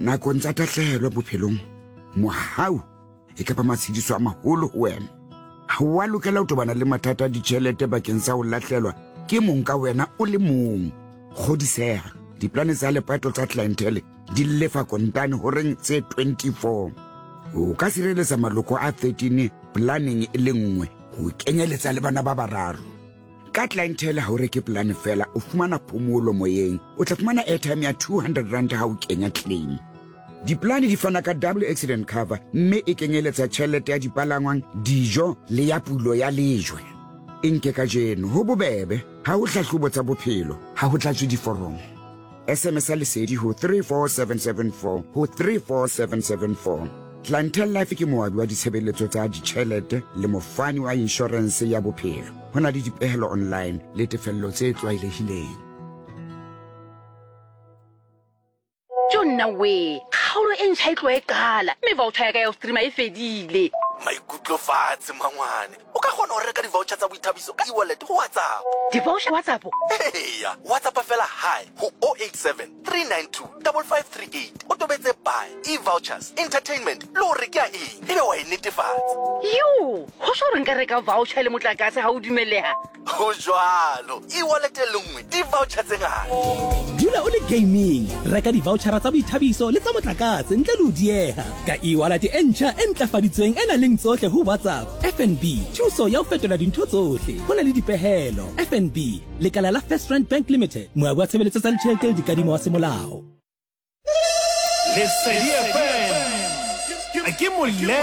Nakong tsa tahlehelo bophelong, mohau e ka ba matshediso a maholo ho wena. Ha o a lokela ho tobana le mathata a ditjhelete bakeng sa ho lahlelwa ke mong ka wena o le mong. Kgodiseha, diplane tsa lepato tsa Clientele di lefa kontane horeng tse 24. O ka sireletsa maloko a 13 planeng e le nngwe ho kenyeletsa le bana ba bararo. Ka Clientele ha o reke polane fela, o fumana phomolo moyeng. O tla fumana airtime ya 200 rand ha o kenya claim. Diplane di fana ka double accident cover mme e kenyeletsa tjhelete ya dipalangwang, dijo le ya pulo ya lejwe. E nke kajeno, ho bobebe, ha ho hlahlobo tsa bophelo, ha ho tlatswe diforomo. SMS ya Lesedi ho 34774 ho 34774. Clientele Life ke moabi wa ditshebeletso tsa ditjhelete le mofani wa inshorense ya bophelo. Ho na le dipehelo online le tefello tse tlwaelehileng. Jo nna wee, kgaolo e ntšha e tloa e qala mme voucher ya ka ya go streama e fedile. Maikutlo fatshe mangwane. O ka kgona go reka di-voucher tsa boithabiso ka e-wallet go WhatsApp. Di-voucher WhatsApp? Eya, WhatsApp fela hi go 087 392 5538 o tobetse buy, e-vouchers, entertainment le gore ke ya eng ebe wa e netefatsa. Yo, go sho gore nka reka voucher le motlakase ga o dumelega? Go jwalo, e-wallet e le nngwe, di-voucher tse ngata. Dula o le gaming, reka di-vouchara tsa boithabiso le tsa motlakase ntle le ho dieha ka e-wallet e ntjha e ntlafaditsweng e nang leng tsohle ho WhatsApp. FNB, thuso ya ho fetola dintho tsohle. Ho na le dipehelo. FNB, lekala la FirstRand Bank Limited, moabi wa tshebeletso tsa ditjhelete le dikadimo wa semolao. Lesedi FM ke molelwa.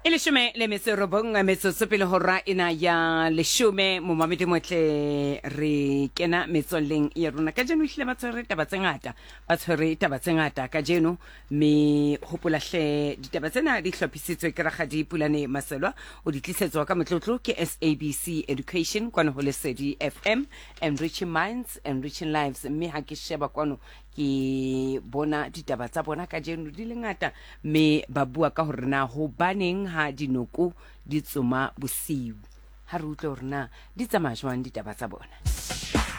E leshome le metso e robong metsotso pele hora ena ya leshome. Momamedi motle, re kena metswalleng ya rona kajeno. Ehlile ba tshwere taba tse ngata, ba tshwere taba tse ngata kajeno. Mme hopola hle, ditaba tsena di hlophisitswe ke Rakgadi Pulane Maselwa, o di tlisetswa ka motlotlo ke SABC Education kwano ho Lesedi FM, enriching minds, enriching lives. Mme ha ke sheba kwano ke bona ditaba tsa bona kajeno di le ngata, mme ba bua ka hore na hobaneng ha dinoko di tsoma bosiu. Ha re utlwe hore na di tsamaya jwang ditaba tsa bona.